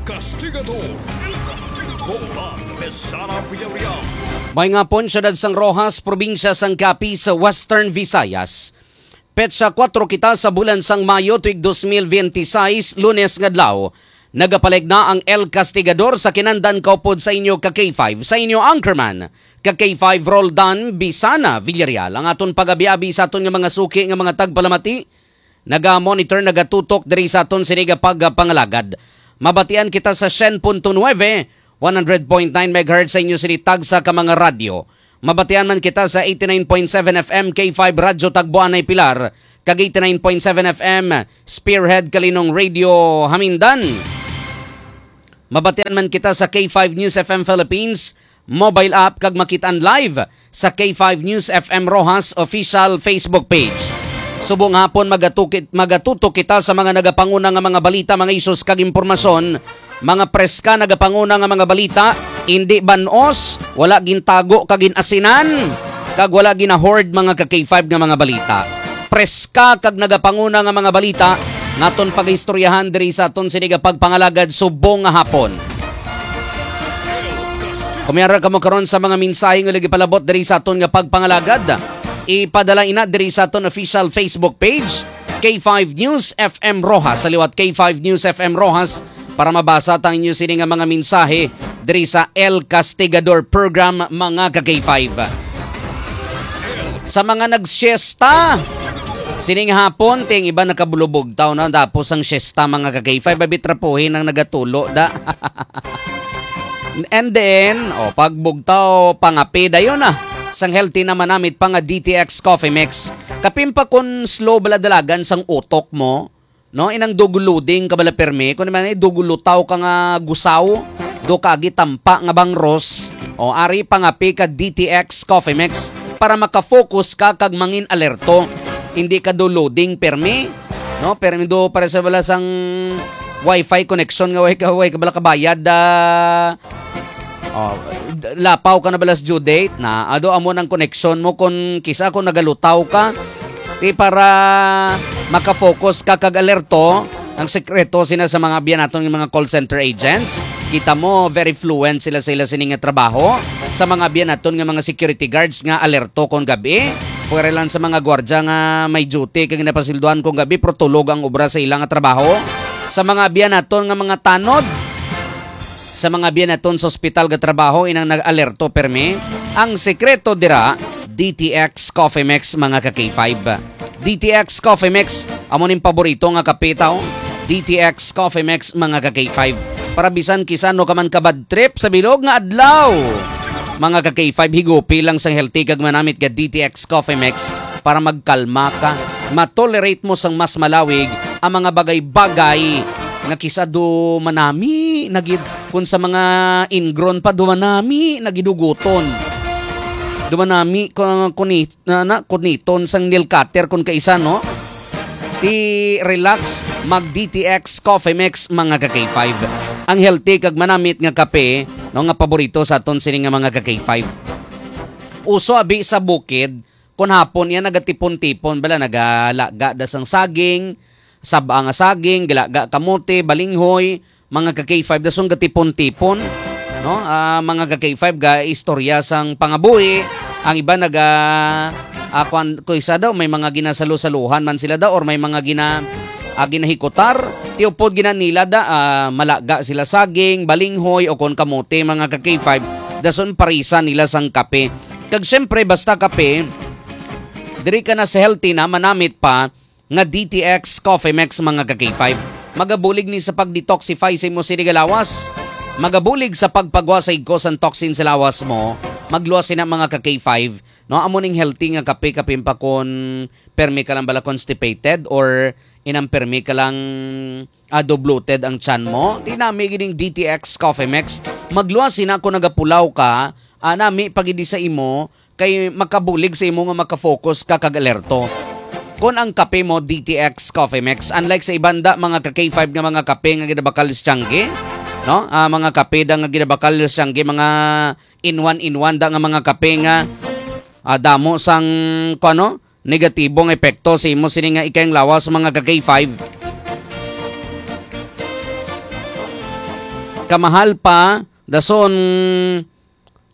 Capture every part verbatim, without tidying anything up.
Castigador. El Castigador. Rohan Mesana Villarreal. May nga hapon, siyudad sang Roxas, probinsya sang Capiz, Western Visayas. Petsa kuwatro kita sa bulan sang Mayo, tuig dos mil biyente sais, Lunes nga adlaw. Nagapalig na ang El Castigador sa kinandan kaupod sa inyo ka K five, sa inyo anchorman, ka K five Roldan Bisana Villarreal. Ang aton pagabi-abi sa aton nga mga suki nga mga tagpalamati, naga-monitor, nagatutok diri sa aton sini nga pagpangalagad. Mabatian kita sa syen punto nuebe, one hundred point nine megahertz sa inyo sini tagsa ka mga radyo. Mabatian man kita sa eighty-nine point seven F M K five Radyo Tagboanay Pilar, kag eighty-nine point seven F M Spearhead Kalinong Radio Hamindan. Mabatian man kita sa K five News F M Philippines mobile app kag makit-an live sa K five News F M Roxas official Facebook page. Subong hapon, magatukit, magatutok kita sa mga nagapanguna nga mga balita, mga isyos kag impormasyon, mga preska nagapanguna nga mga balita, indi ban-os, wala gintago kag gin-asinan, kag wala gina-hoard, mga ka K five, nga mga balita. Preska kag nagapanguna nga mga balita nga aton pagaistoryahan diri sa aton sini nga pagpangalagad subong nga hapon. Kumiara kamo karon sa mga mensahe nga nagipalabot diri sa aton nga pagpangalagad. Ipadala ina diri sa aton official Facebook page, K five News F M Roxas. Sa liwat, K five News F M Roxas, para mabasa ta ang inyo sini nga mga mensahe diri sa El Castigador Program, mga ka K five. Sa mga nagsiesta sining hapon, ting iba nakabulubugtaw na, tapos ang siesta, mga ka K five, abi, trapuhin ang nagatulo da. And then, o, pagbugtaw, pangape dayon na. Sang healthy naman namit pa nga D T X Coffee Mix. Kapin pa kun slow bala dalagan sang utok mo, no? Inang double loading ka bala permi, kun man, eh, double lutaw ka nga gusaw, do ka agi tampa nga bangros, o, ari pangape ka D T X Coffee Mix para makafocus ka kag mangin alerto. Hindi ka do loading permi, no? Permi do para sa bala sang wifi connection nga way ka, way ka bala kabayad, ah, Oh, d-, lapaw ka na bala sa due date na. Ado amo nang connection mo kung kisa kung nagalutaw ka. Di para makafocus ka kag alerto, ang sekreto sina sa mga abyan naton nga mga call center agents. Kita mo, very fluent sila sa ila sini nga trabaho. Sa mga abyan naton nga mga security guards nga alerto kon gabi. Pwera lang sa mga gwardya nga may duty kag napasilduhan kon gabi, pero tulog ang obra sa ila nga trabaho. Sa mga abyan naton nga mga tanod, sa mga abyan naton sa ospital nga trabaho, inang nag-alerto permi. Ang sekreto dira, D T X Coffee Mix, mga ka K five. D T X Coffee Mix, amo ning paborito nga kape taw. D T X Coffee Mix, mga ka K five. Para bisan kisa ano ka man ka bad trip sa bilog nga adlaw, mga ka K five, higupi lang sang healthy kag manamit nga D T X Coffee Mix para magkalma ka. Matolerate mo sang mas malawig ang mga bagay-bagay nga kisa do manami na gid, kun sa mga ingrown pa, do manami na gid huguton. Do manami ko, kuni-, na, na, kuniton sang nail cutter kun kaisa, no? Ti relax, mag D T X Coffee Mix, mga ka K five. Ang healthy kag manamit nga kape, no, nga paborito sa aton sini nga mga ka K five. Uso abi sa bukid, kun hapon iya nagatipon-tipon bala, nagalaga da sang saging, saba nga saging, galaga kamote, balinghoy, mga ka K five, dason gatipon-tipon, no? Ah, mga ka K five, ga istorya sang pangabuhi, ang iba naga, ah, kwan, kung isa daw, may mga ginasalo-saluhan man sila daw, or may mga gina-, ah, ginahikutar, ti upod gina nila da, ah, malaga sila saging, balinghoy, o kon kamote, mga ka K five, dason parisa nila sang kape. Kag siyempre, basta kape, diri ka na sa healthy na, manamit pa nga D T X Coffee Mix, mga ka K five. Magabulig ni sa pag-detoxify sa imo sini nga lawas. Magabulig sa pagpagwa sa igko sang toxin sa lawas mo. Magluwas sina, mga ka K five. No, amo ning healthy nga kape, kapin pa kon permi ka lang bala constipated or inang permi ka lang, ah, do bloated ang tiyan mo. Ti nami gining D T X Coffee Mix. Magluwas sina kon nagapulaw ka, ah, nami pa gid sa imo, kay makabulig sa imo nga makafocus ka kag alerto. Kon ang kape mo, D T X Coffee Mix, unlike sa iban da, mga ka K five, nga mga kape nga ginabakal sa tiyangge, no? Ah, mga kape da nga ginabakal sa tiyangge, mga in one, in one da nga mga kape nga, ah, damo sang, kuno, negatibong epekto sa imo sini nga ikayang lawas, mga ka K five. kamahal pa, dason,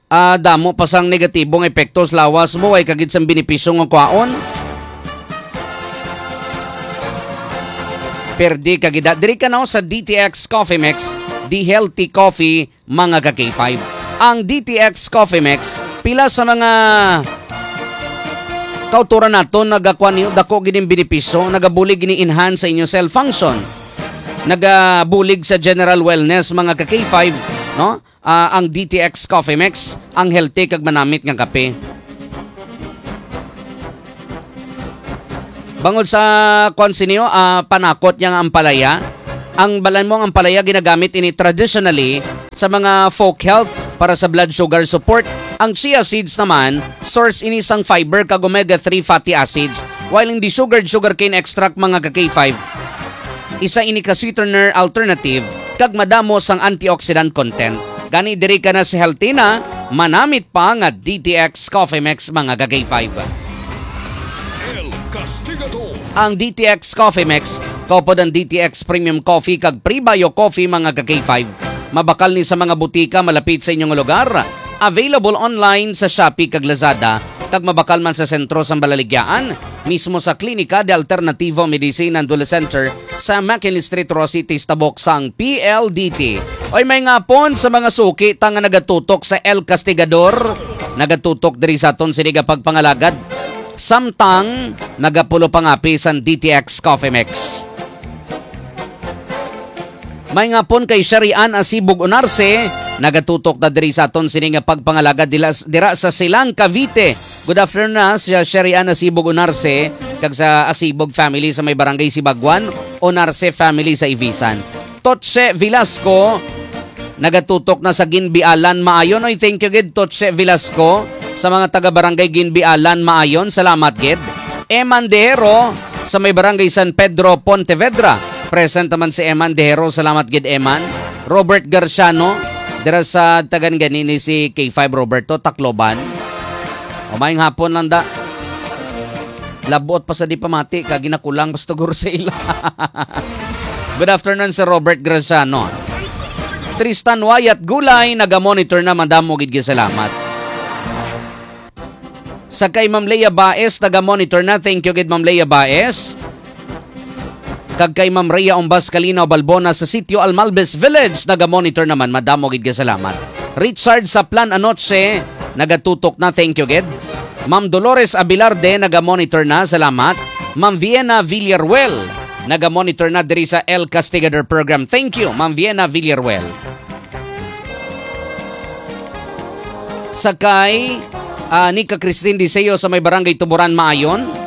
ah, damo pa sang negatibo nga epekto sa lawas mo, way ka gid sang benepisyo nga kwaon. Perdi ka gid. Diri ka na sa D T X Coffee Mix, the healthy coffee, mga ka K five. Ang D T X Coffee Mix, pila sa mga kautoran naton nagakuha niyo, dako gid ang benepisyo, nagabulig gid ni enhance sa inyo cell function. Nagabulig sa general wellness, mga ka K five, no? Ah, ang D T X Coffee Mix, ang healthy kag manamit nga kape. Bangod sa kwan siniyo, ah, panakot niya nga ampalaya. Ang balan mo ang ampalaya ginagamit ini traditionally sa mga folk health para sa blood sugar support. Ang chia seeds naman, source ini sang fiber kag omega three fatty acids, while in the sugared sugarcane extract, mga ka K five, isa ini ka sweetener alternative kag madamo sang antioxidant content. Gani diri ka na sa healthy na, manamit pa nga D T X Coffee Mix, mga ka K five. El Castigador. Ang D T X Coffee Mix, kaupod ang D T X Premium Coffee kag Prebio Coffee, mga ka K five. Mabakal ni sa mga butika malapit sa inyong lugar. Available online sa Shopee kag Lazada, kag mabakal man sa sentro sang Balaligyaan, mismo sa Klinika de Alternativo Medicina and Wellness Center sa McKinley Street, Roxas City, sa tabok sang P L D T. Oy, may ngapon sa mga suki ta nga nagatutok sa El Castigador, nagatutok diri sa aton sini nga pagpangalagad. Samtang nagapulo pangapi sang D T X Coffee Mix. May ngapon kay Sherry Ann Asibog Unarse, nagatutok na diri sa aton sini nga pagpangalagad dila, dira sa Silang, Cavite. Good afternoon na sa Sherry Ann Asibog Unarse kag sa Asibog family sa may barangay Sibagwan, Unarse family sa Ivisan. Totse Velasco, nagatutok na sa Ginbialan, Maayon. Oy, thank you gid, Totse Velasco, sa mga taga Barangay Ginbialan, Maayon. Salamat gid. Eman Dehero, sa may Barangay San Pedro, Pontevedra. Present naman si Eman Dehero. Salamat gid, Eman. Robert Garciano, dira sa tagan ganini si K five Roberto, Tacloban. O, maayong hapon lang da. Labot pa sa di pamati, kag ginakulang pa sa tugor sa ila. Good afternoon, Sir Robert Graciano. Tristan Wyatt Gulay, naga-monitor na, madamo gid nga salamat. Sa kay Ma'am Leia Baez, naga-monitor na. Thank you gid, Ma'am Leia Baez. Kag kay Ma'am Rhea Umbas Kalinaw Balbona sa Sitio Almalbes Village, naga-monitor naman. Madamo gid nga salamat. Richard Saplan Anoche, nagatutok na. Thank you gid. Ma'am Dolores Abilarde, naga-monitor na. Salamat. Ma'am Vienna Villaruel, naga-monitor na diri sa El Castigador Program. Thank you, Ma'am Vienna Villaruel. Sa kay, ah, Nika Christine Diseo sa may Barangay Tuburan, Maayon.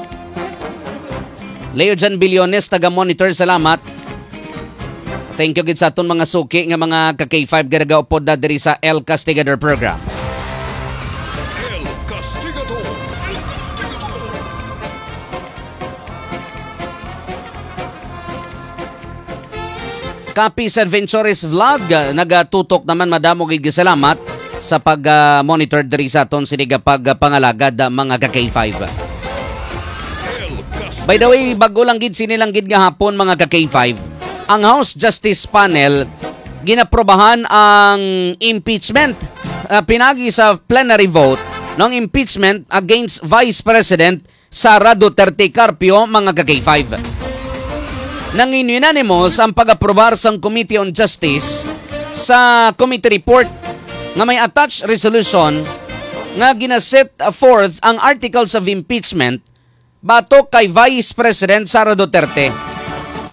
Leo Jan Billones, taga-monitor, salamat. Thank you gid sa aton mga suki nga mga ka K five nga nagaupod na diri sa El Castigador Program. El Castigador. El Castigador. Kapis Adventures Vlog, ah, nagatutok naman, madamo gid salamat sa pag, ah, monitor diri sa aton sini nga pagpangalagad, ah, mga ka K five. By the way, bago lang gid sini lang gid nga hapon, mga ka K five, ang House Justice Panel ginaprobahan ang impeachment, ah, pinagi sa plenary vote ng impeachment against Vice President Sara Duterte Carpio, mga ka K five. Nangin unanimous ang pag-aprobar sang Committee on Justice sa committee report nga may attached resolution nga ginaset forth ang articles of impeachment batok kay Vice President Sara Duterte,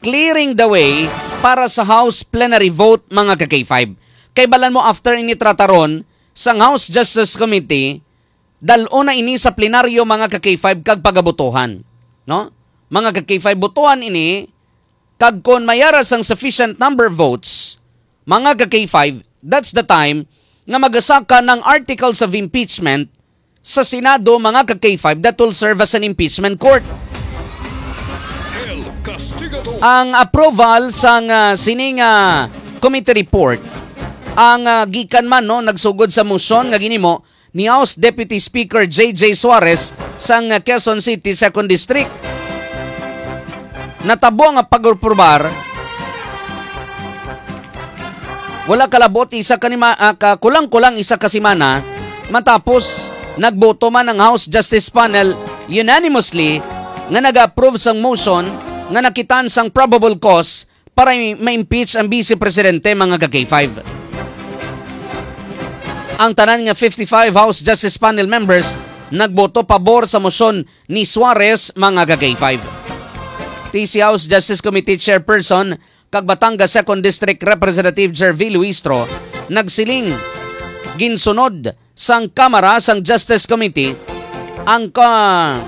clearing the way para sa House plenary vote, mga ka K five. Kay balan mo, after ini trataron sang House Justice Committee, dal-on na ini sa plenaryo, mga ka K five, kag pagabotohan, no? Mga ka K five, botohan ini, kag kon mayara sang sufficient number votes, mga ka K five, that's the time nga magasaka ng articles of impeachment sa Senado, mga ka K five, that will serve as an impeachment court. El Castigador. Ang approval sang, ah, sining, ah, committee report, ang, ah, gikan man, no, nagsugod sa motion nga ginimo ni House Deputy Speaker J J Suarez sang Quezon City Second District. Natabo nga pag-aprobar Wala kalabot isa ka nima-, ah, ka kulang-kulang isa ka semana matapos nagboto man ang House Justice Panel unanimously nga nag-approve sang motion nga nakitaan sang probable cause para i-, ma-impeach ang Vice Presidente, mga ka-K five. Ang tanan nga fifty-five House Justice Panel members nagboto pabor sa motion ni Suarez, mga ka-K five. T C House Justice Committee Chairperson kag Batangas Second District Representative Gervie Luistro nagsiling, ginsunod sang Kamara sang Justice Committee ang ka-,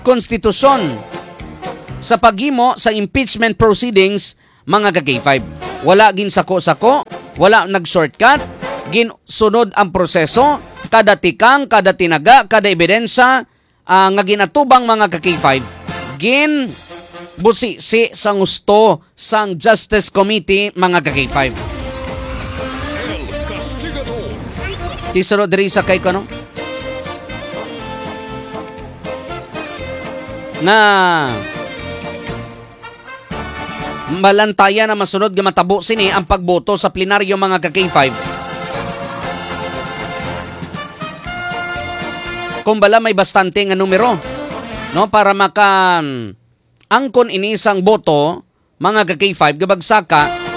konstitusyon sa paghimo sa impeachment proceedings, mga ka-K five. Wala ginsako-sako, wala nag-shortcut, ginsunod ang proseso, kada tikang, kada tinaga, kada ebidensya, ah, nga ginatubang, mga ka-K five, ginbusisi sang husto sang Justice Committee, mga ka-K five. El Castigador. Ti sunod diri sa kay, ano? Nga malantayan na masunod nga matabo sini ang pagboto sa plenaryo, mga ka-K five. Kung bala may bastante nga numero, no, para maka, mm, angkon ini sang boto, mga ka-K five, gabagsaka,